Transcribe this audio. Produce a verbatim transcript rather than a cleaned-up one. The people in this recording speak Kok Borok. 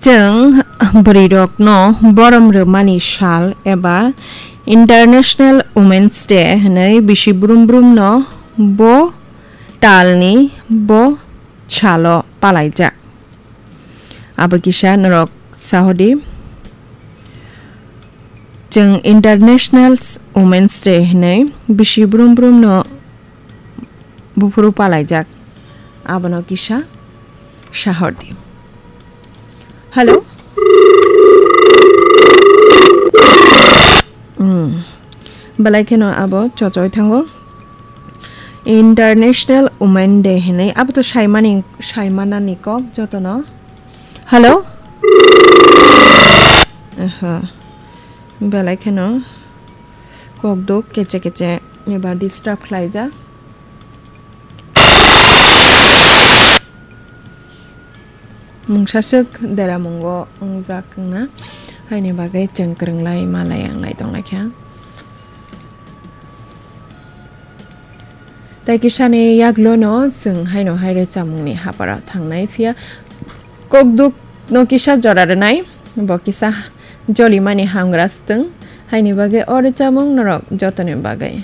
Chwng bwrwirokno borom rwmani sal eba International Women's Day hwnwi bisi brum brumno bo talni bo salo palaijak. Abo kisa norok sahodi. Chwng International Women's Day hwnwi bisi brum brumno buphuru palaijak. Abono kisa sahordi. Hello? Hmm. Belai kheno abo chochoi thango. International Women Day hinwi abo to saimani, saimanani kok jotono. Hello? Aha. Belai kheno kok duk keche keche eba disturb khlaijak. Mungsaswk deramungo wngjak wngna, haini bagwi chwng kwrwnglai malai wnglai tonglaikha. Tei kisani yaglono chwng haino hai rwchapmungni haparo thangnai, phiya kokdukno kisa jora rwnai, bo kisa jolimani hamgra swtwng, haini bagwi o rwchapmung norok jotoni bagwi.